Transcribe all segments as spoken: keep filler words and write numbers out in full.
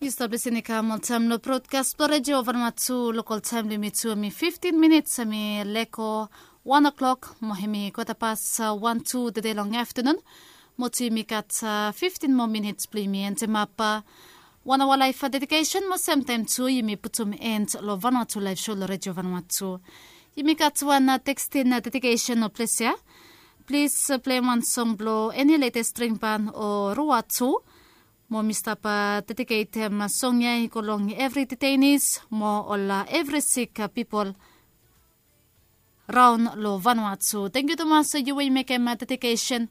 Yu stap lisin i kam oltaem long brodkas blong redio vanua tu. Lokal taem blong yumi tu em i fiftin minits em i leko wan o'klok mo em i kwata pas wan tu tede long aftanun. Mo tu yumi gat fiftin moa minits blong yumi endemap wan aoa laef dedikesen mo semtaem tu yumi putum end long vanua tu laef so long redio vanua tu. Yumi gat wan tekstin dedikesen o ples ya. Plis pleim wan song blong eni letes dringban o rua tu. Mo mi stap dediketem song ya i go long evri detainis mo ol evri sik pipol raon long vanua tu. Tangkiu tumas yu we yu mekem dedikesen,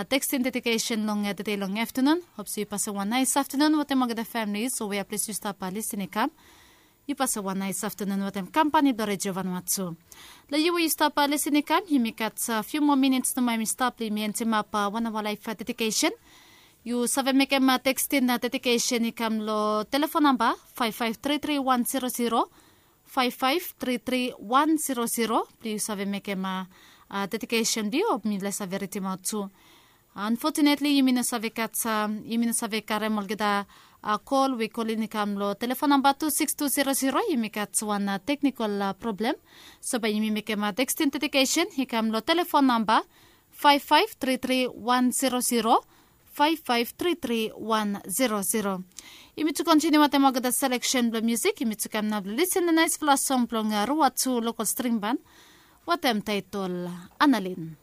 tekstin dedikesen long tede long aftanun. Hop se yu pasem wan naes aftanun wetem olgeta famili so we ya ples yu stap lisin i kam. Yu pasem wan naes aftanun wetem kampani blong redio vanua tu. Long yu we yu stap lisin i kam yumi gat fiu moa minits nomo em i stap blong yumi endemap wan aoa laef dedikesen. Yu save mekem tekstin dedikesen i kam long telefon namba faef faef tri tri wan zero zero, faef faef tri tri wan zero zero blong yu save mekem dedikesen blong yu o mi lae save ridimaot tu. Anfotunetli yumi no save gat, yumi no save karem olgeta kol we i kolin i kam long telefon namba tu siks tu zero zero. Yumi gat wan teknikol problem. So bae yumi mekem tekstin dedikesen i kam long telefon namba faef faef tri tri wan zero zero, faef faef tri tri wan zero zero. Yumi tu kontiniu wetem olgeta seleksen blong musik. Yumi tu kam nao blong lisin long naesfala song blong rua tu lokal stringban wetem taetol Analin.